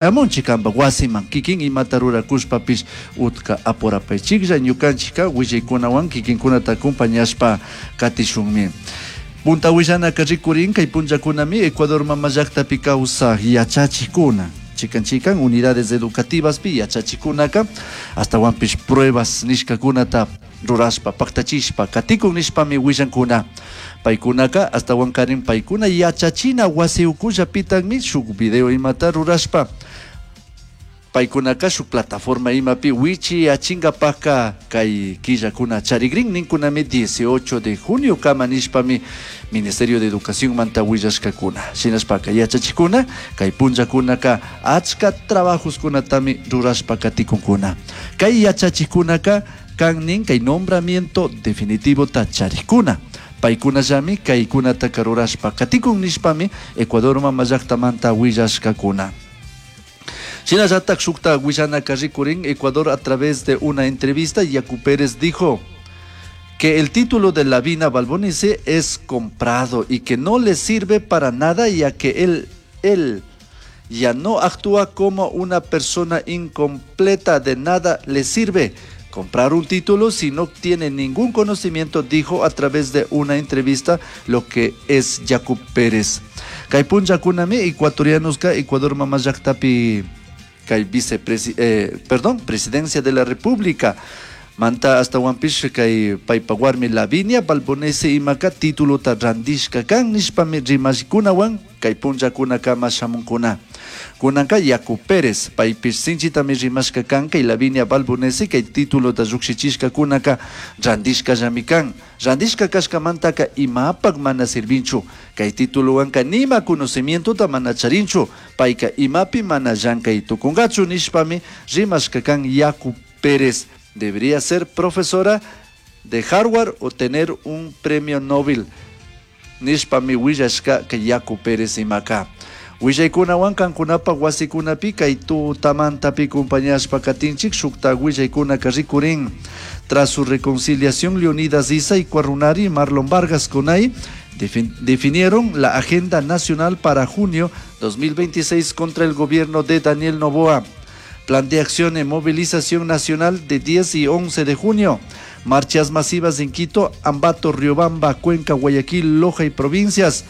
Amunchik kanpak wasiman kikin imata rurakushpapish utka apurapaychiklla ñukanchikka willaykunawan kikinkunata acompañashpa katishunmi. Punta willanaka rikurin kay punllakunami Ecuador mama llaktapi kawsak yachachikkuna chikan chikan unidades educativaspi yachachikkunaka ashtawanpish pruebas nishkakunata rurashpa paktachishpa katikun nishpami willankuna. Paykunaka ashtawankarin paykuna yachachina wasi ukullapitakmi shuk video imata rurashpa paykunaka shuk plataforma imapi wichiyachingapakka kay killakuna charikrin ninkunami 18 de junio kama nishpami Ministerio de Educación manta willashkakuna. Shinashpaka yachachikuna kay punllakunaka achka trabajoskunatami rurashpa katikunkuna. Kay yachachikunaka kan nin kay nombramiento definitivota charikuna. Paykunallami kaykunataka rurashpa katikun nishpami Ecuador mama llaktamanta willashkakuna. Shinallatak shukta willanaka rikurin Ecuador a través de una entrevista Yacu Pérez dijo que el título de Lavinia Valbonesi es comprado y que no le sirve para nada ya que él ya no actúa como una persona incompleta, de nada le sirve comprar un título si no tiene ningún conocimiento, dijo a través de una entrevista lo que es Yacu Pérez. Kay punllakunami ecuatorianos ka Ecuador mama llaktapi kay perdón, presidencia de la República manta ashtawanpish kay paypa warmi Lavinia Valbonesi imaka titulota randishka kan nishpami rimashkunawan kay punllakunakama shamunkuna. Kunanka Yacu Pérez paypish sinchitami rimashka kan kay Lavinia Valbonesi kay titulota llukshichishkakunaka randishkallami kan. Randishka kashkamantaka imapak mana sirvinchu. Kay tituluwanka nima conocimientota mana charinchu. Payka imapi mana llankay tukunkachu nishpami rimashka kan Yacu Pérez. Debería ser profesora de Harvard o tener un premio Nobel. Nishpami willashka kay Yacu Pérez imaka. Willaykunawan kankunapak wasikunapi kay tutamantapi compañashpa katinchik shukta willaykunaka rikurin. Tras su reconciliación, Leonidas Iza y Ecuarunari y Marlon Vargas Conay definieron la Agenda Nacional para junio 2026 contra el gobierno de Daniel Noboa. Plan de acción en movilización nacional de 10 y 11 de junio. Marchas masivas en Quito, Ambato, Riobamba, Cuenca, Guayaquil, Loja y provincias.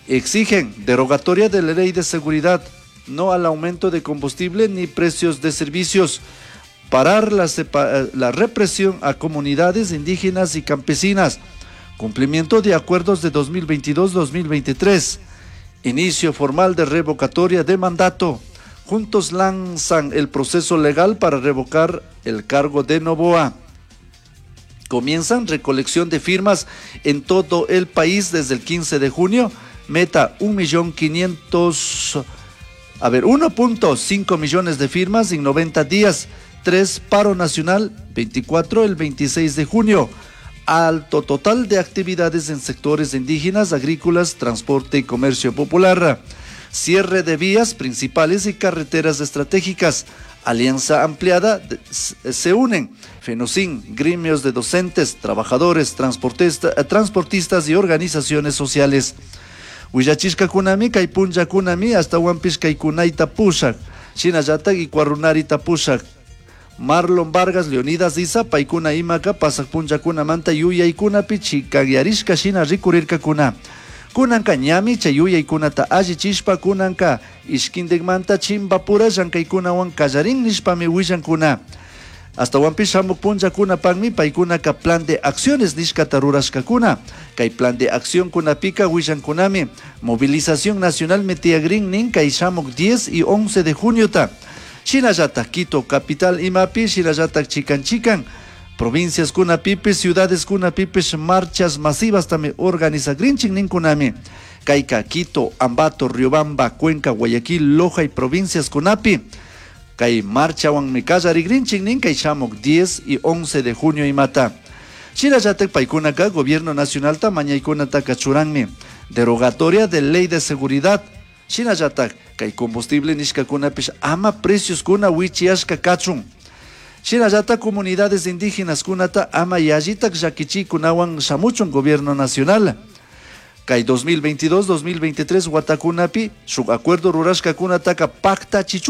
Exigen derogatoria de la ley de seguridad, no al aumento de combustible ni precios de servicios. Parar la represión a comunidades indígenas y campesinas. Cumplimiento de acuerdos de 2022-2023. Inicio formal de revocatoria de mandato. Juntos lanzan el proceso legal para revocar el cargo de Noboa. Comienzan recolección de firmas en todo el país desde el 15 de junio. Meta un millón quinientos, a ver, uno punto cinco millones de firmas en 90 días. 3, paro nacional, 24, el 26 de junio. Alto total de actividades en sectores indígenas, agrícolas, transporte y comercio popular. Cierre de vías principales y carreteras estratégicas. Alianza ampliada se unen FENOCIN, gremios de docentes, trabajadores, transportistas y organizaciones sociales. Willachishkakunami kay punllakunami ashtawanpish kay kunayta pushak, shinallatak Ecuarunarita pushak. Marlon Vargas, Leonidas Iza, paykuna imaka pasak punllakunamanta yuyaykunapi chikanyarishka shina rikurirkakuna. Kunanka ñami chay yuyaykunata allichishpa kunanka ishkindikmanta chimbapura llankaykunawan kallarin nishpami willankuna. Ashtawanpish shamuk punllakunapakmi paykunaka plan de acciones nishkata rurashkakuna. Kay plan de acción kunapika willankunami movilización nacional metiagrin nin kay shamuk 10 y 11 de juniota. Shinallatak Quito capital imapi, shinallatak chikan chikan provincias kunapipish, ciudades kunapipish marchas masivas tami organizagrinchik ninkunami. Kayka Quito, Ambato, Riobamba, Cuenca, Guayaquil, Loja y provincias kunapi. Kay marchawanmi kallarigrinchik nin kay shamuk 10 y 11 de junio imata. Shinallatak paykunaka gobierno nacionalta mañaykunataka churanmi. Derogatoria de ley de seguridad. Shinallatak kay combustible nishkakunapish ama precios kuna wichiashka kachun. Shinallatak comunidades indígenas kunata ama yallitak llakichikunawan shamuchun gobierno nacional. Kay 2022-2023 watakunapi shuk acuerdo rurashkakunataka paktachichun.